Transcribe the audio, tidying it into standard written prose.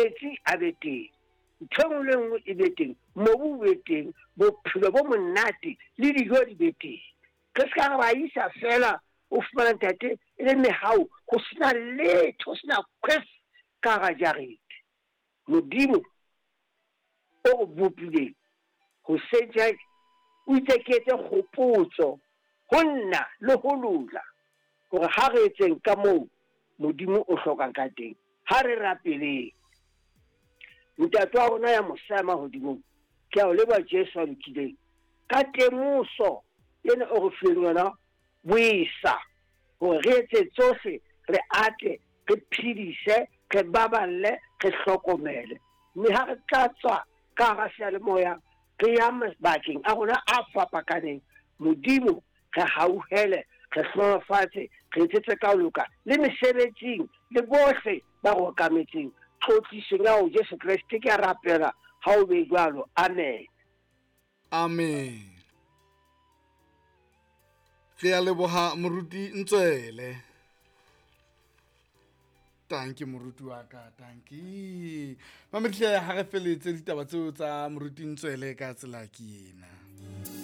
Metsi a be teng, ntho e nngwe le e nngwe e be teng, mobu o be teng, bophelo bo monate le dijo di be teng. Re se ka ra ba isa feela, o fumana ntate e le mehau, ho sena letho, ho sena khwef ka hara jarete. Modimo o re bopileng hoseng tjena o itse ke etse kgopotso ho nna le ho lona hore ha re etseng ka moo Modimo o hlokang ka teng. Ha re rapeleng. Ntate wa rona ya mosa ya mahodimong, ke a o leboha Jesu a lokileng ka temoso ena o re fileng yona boesa hore re etse tsohle, re ate, re phedise, re baballe, re hlokomele. Mme ha re tla tswa ka hara seyalemoya re ya mabakeng a rona a fapakaneng, Modimo re hauhele, re hlohonofatse, re etsetse ka ho loka le mesebetsing le bohle ba re okametseng. Tlotlisong ya ho Jesu Kreste ke a rapela, ha o be jwalo. Amen. Amen. Re a leboha moruti Ntswele. Tanki moruti wa ka, tanki. Mamedihle ha re feletse ditaba tseo tsa moruti Ntswele ka tsela ke ena.